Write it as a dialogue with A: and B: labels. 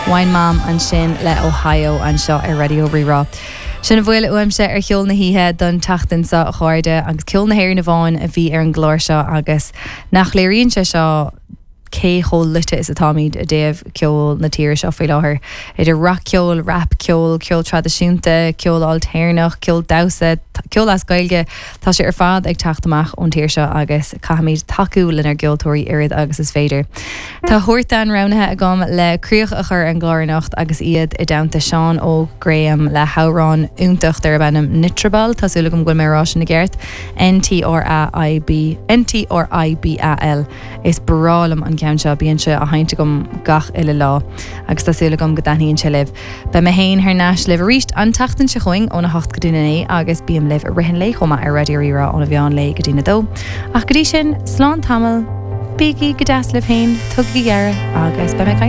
A: Wine Mom ansin le Ohio anseo ar Raidió Rí-Rá. Sin a bhfuil uaimse ar Cheol na hOíche don tseachtain seo, a chairde, agus ceol na hÉireann amháin a bhí ar an gclár seo agus nach léiríonn sé seo cé chomh luite is atáimid i dtaobh ceol na tíre seo faoi láthair, idir rac-cheol, rap-cheol, ceol traidisiúnta, ceol ailtéarnach, ceol damhsa, ceol as Gaeilge, tá sé ar fad ag teacht amach ón tír seo agus caithfimid tacú lenár gceoltóirí oiread agus is féidir. Tá Huartan roghnaithe agam le críoch a chur ar an gclár anocht agus iad i dteannta Seán Óg Graham le hamhrán iontach darb ainm Nitrabal, tá súil agam go bhfuil mé ag rá sin i gceart, N-T-R-A-I-B, N-T-R-I-B-A-L. Is breá liom an ceann seo, bíonn sé á sheinnt agam gach uile lá agus tá súil agam go dtaitníonn sé libh. Beidh mé féin thar n-ais libh arís an tseachtain seo chugainn óna hocht go dtí a naoi agus bím libh i rith an lae chomh maith ar Raidió Rí-Rá óna mheán lae go dtína dó. Ach go dtí sin, slán tamall, bígí go deas libh féin, tugaigí aire agus beidh mé ag caint.